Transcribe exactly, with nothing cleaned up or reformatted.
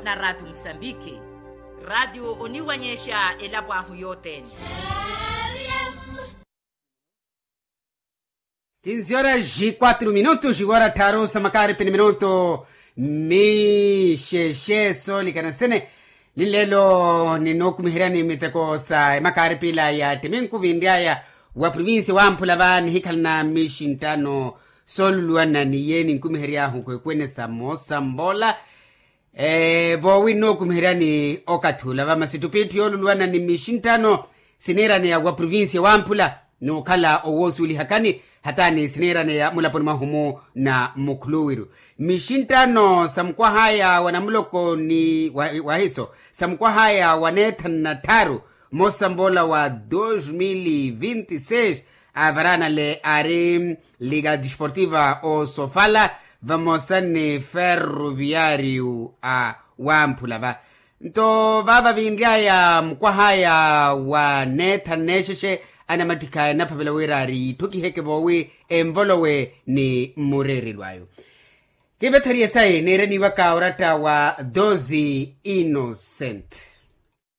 Na ratio musambiki, ratio oniwanyexa elapo ahu yothene. Kinzi horas e quatro minutos wara tharu sa makaaripi ni minuto. Mixexe soolikana sene. Ni lelo ninookumiheryani miteko sa emakaaripi ila ya ttiminku vinry'aya wa provincia wamphula va nihikhalana mixinttano sooluluwana ni yeeni nkumihery'ahu kwekwene sa moosa mbola. Voowi nnookumiheryani okathi ula va masi ttupitthu yooluluwana ni mixinttano siniiraneya wa provincia wamphula n'ukhala owoosuwelihakani hataani siniiraneya mulaponi mwahu-mu na mukhuluwiru. Mixinttano sa mukwah'aya wa namuloko ni wahiso sa mukwah'aya wa neethanu na tthaaru moosa mboola wa dos mil vinti seis. Avaraanale aari liga desportiva osofala vamosa ni ferroviario a wamphula va. Nto vaava vinry'aya mukwah'aya wa neethanu neexexe anamattikha enaphavela wira ari yitthukiheke voowi envolowe ni mmureerelo ayo. Kivetherye sayi niireniwaka oratta wa doze innocent.